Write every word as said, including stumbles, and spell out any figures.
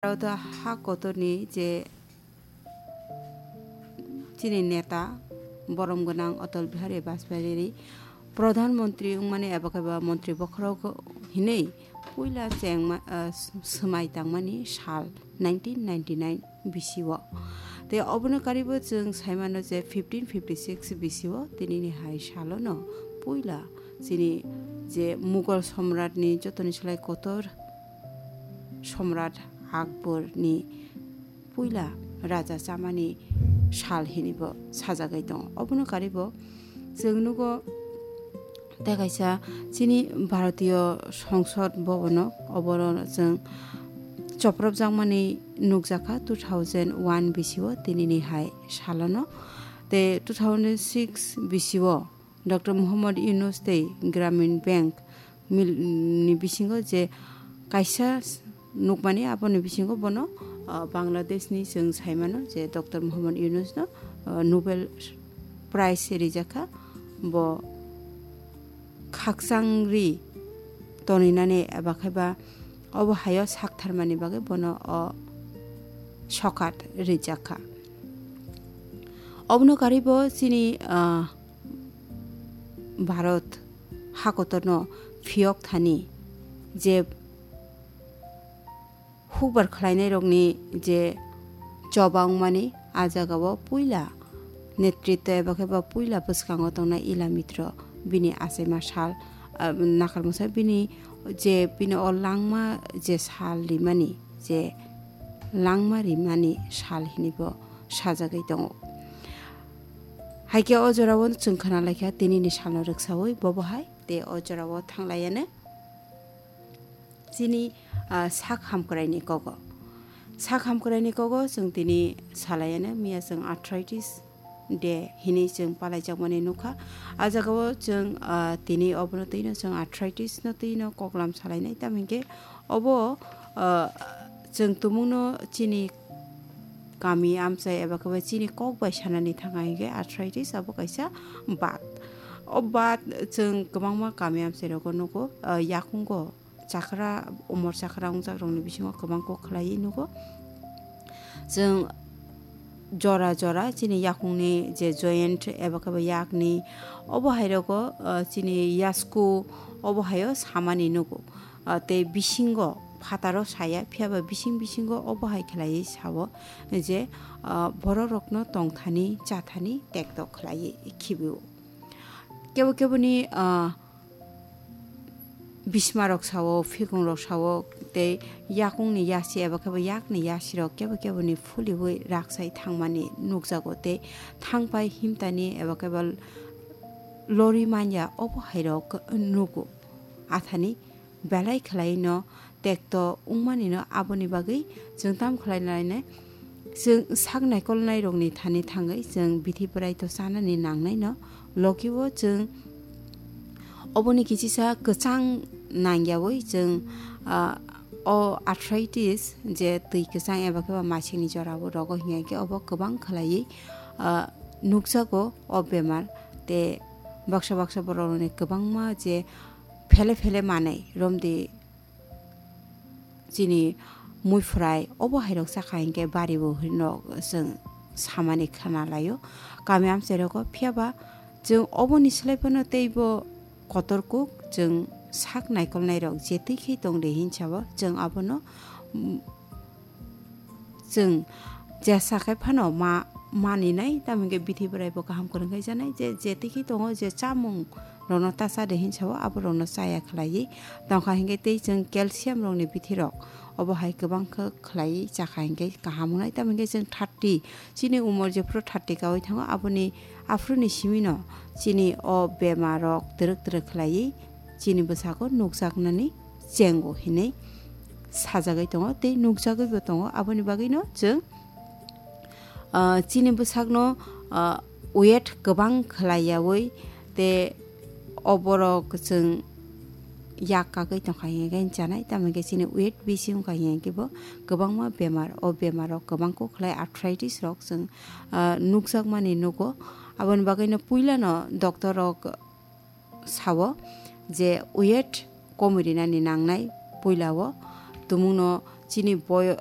Bharat ha kotorni je chini neta borom gwnang Atal Bihari Vajpayee Pradhan Mantri wngmani eba khe ba Mantri bokhorok hinwi puila chengma, ah, swmai tangmani sal nineteen ninety-nine bisio. Tei obono karibo chwng saimano je fifteen fifty-six bisio tinini hai salono puila chini je Mughal Samratni jotoni slai kotor Samrat Akbarni puila raja chamani sal hinwibo sajagwi tongo. Obono karibo chwng nugo tei kaisa chini Bharatiyo Songsod Bhabono obono chwng chopropjakmani nukjakha two thousand one bisio tinini hai salono. Tei two thousand six bisio Doctor Mohammad Yunus tei Gramin Bank mil-, ni bisingo je kaisa s-, nukmani aboni bisingo bono, ah, Bangladeshni chwng saimano je Doctor Mohammad Yunusno, ah, Nobel Prize rijakha. Bo khakchangri toninani eba khe ba obo hayo saktharmani bagwi bono o sokat rijakha. Obono karibo chini, ah, Bharat hakotorno phiyok thani je hukbar khlainairokni je choba wngmani, a jagao puila netritw eba khe ba puila bwskango tongnai Ila Mitro bini achaima sal, ah, nakarmasa bini je bini o langma je sal rimani, je langma rimani sal hinwibo sajagwi tongo. Haikhe o jorao chwng khna laikha tinini salno rwksaui bobo hai tei o jorao thanglaiano chini, ah, sak hamkraini kogo. Sak hamkraini kogo chwng tini salaiano miya chwng arthritis de hinwi chwng palaijakmani nukha. A jagao chwng, ah, tini obono twino chwng arthritis no twino koklam salainai, tamhinkhe obo, ah, chwng tumungno chini kami amchai eba khe ba chini kok bai sanani thangkha hinkhe arthritis abo kaisa bat. O bat chwng kwbangma kami amchai rogo nugo, ah, yakungo chakra, umor chakra wngjak rokni bisingo kwbang kok khlaiwi nugo. Chwng jora jora chini yakungni je joint eba khe ba yakni obo hai rogo, ah, chini yasku obo haio samani nugo. Ah, tei bisingo phataro saya, phiya ba bising bisingo obo hai khlaiwi sao je, ah, borok rokno tongthani chathani tekto khlaiwi khibio. Kebo keboni, ah, bismarok sao, phikungrok sao, tei yakungni yasi eba khe ba yakni yasirok kebo keboni phuliui raksai thangmani nukjago tei thangpai himtani eba khe ba lori manya obo hairok nugo. Athani belai khwlaino tekto wngmanino aboni bagwi chwng tam khlai lainai? Chwng sak naikolnairokni thani thangwi chwng bithi bwraito chanani nangnaino. Logibo chwng oboni kichisa kwchang nangyaui chwng, ah, o arthritis je twi kwchang eba khe ba masingni jorao rogo hinkhe obo kwbang khlaiwi, ah, nukjago o bemar. Tei baksa baksa borokni kwbangma je phele phele manwi romdi chini muiphwrai obo hairok chakha hinkhe baribo hinwi chwng samani khna laio. Kami amchai rogo phiya ba chwng oboni slai phano teibo kotor kuk chwng sak naikolnairok je twi khe tong de hinsabo chwng abono, mm, chwng jesa khe phano ma, maninai, tamo hinkhe bithi bwraibo kaham kwrwng khe janai, je, je twi khe tongo, je chamung rokno ta cha de hinsabo, abo rokno chaya khlaiwi tongkha hinkhe tei chwng calcium rokni bithi rok obo hai kwbang khe khlaiwi chakha hinkhe kaham wngnai, tamo hinkhe chwng thirty chini umor jephuru thirty kaui thango, aboni aphuruni simino chini o bemar rok twrwk twrwk khlaiwi chini bwsako nukjaknani chengo hinwi sajagwi tongo tei nukjagwibo tongo. Aboni bagwino chwng, ah, chini bwsakno, ah, weight kwbang khlaiyaui tei oborok chwng yak kagwi tongkha hinkhe chanai, tamo hinkhe chini weight bisi wngkha hinkhe bo kwbangma bemar, o bemar rok kwbang kok khlai arthritis rok chwng, ah, nukjakmani nugo. Aboni bagwino puilano doctor rok sao je weight komwi rinani nangnai, puilao tumungno chini boyo-,